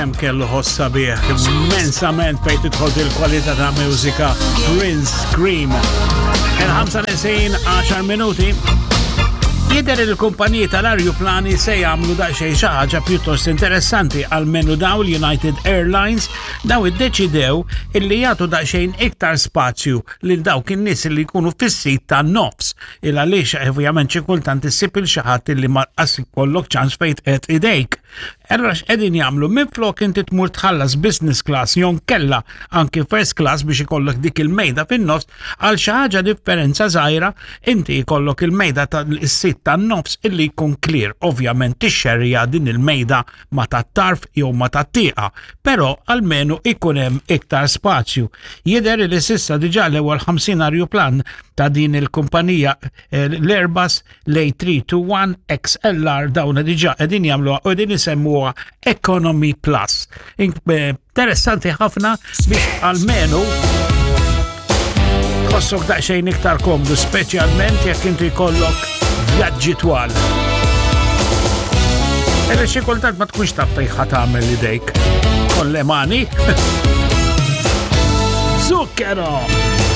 Kemm kellu ħoss sabiħ, immensament fejn tidħol il-kwalità ta' mużika Prince Cream. Il-5 nesin 10 minuti. Jidher il-kumpaniji tal-arjuplani se jagħmlu daqsxejn xi ħaġa pjuttost interessanti għalmenu daw l-United Airlines daw iddeċidew illi jagħtu daqsxejn iktar spazju lil dawk in-nies li jkunu fis-sit tan-nofs. Il għaliex ovvjament xi kultant issib il xi ħadd illi ma qas ikollok ċans fejn tqed idejk. Allura x'qegħdin jagħmlu minflok inti tmur tħallas business class jew kella anki first class biex ikollok dik il-mejda fin-nofs għal xi ħaġa differenza żgħira inti jkollok il-mejda tas-sit tan-nofs illi jkun clear. Ovvjament tixxerja din il-mejda ma tat-tarf jew ma tat-tieqa, però almenu ikun hemm iktar spazju. Jidher li s'issa diġà l-ewwel 50 arjuplan ta' din il-kumpanija eh, l-Airbus l-A321 XLR dawna diġà qegħdin jagħmluha u qegħdin isemmuha Economy Plus. Eh, interessanti ħafna biex almenu tħossok daqsxejn iktar komdu, speċjalment jekk inti jkollok vjaġġi twal. Illa xi kultant ma tkunx taf fejn ħa tagħmel idejk. Kollemani. Zucchero!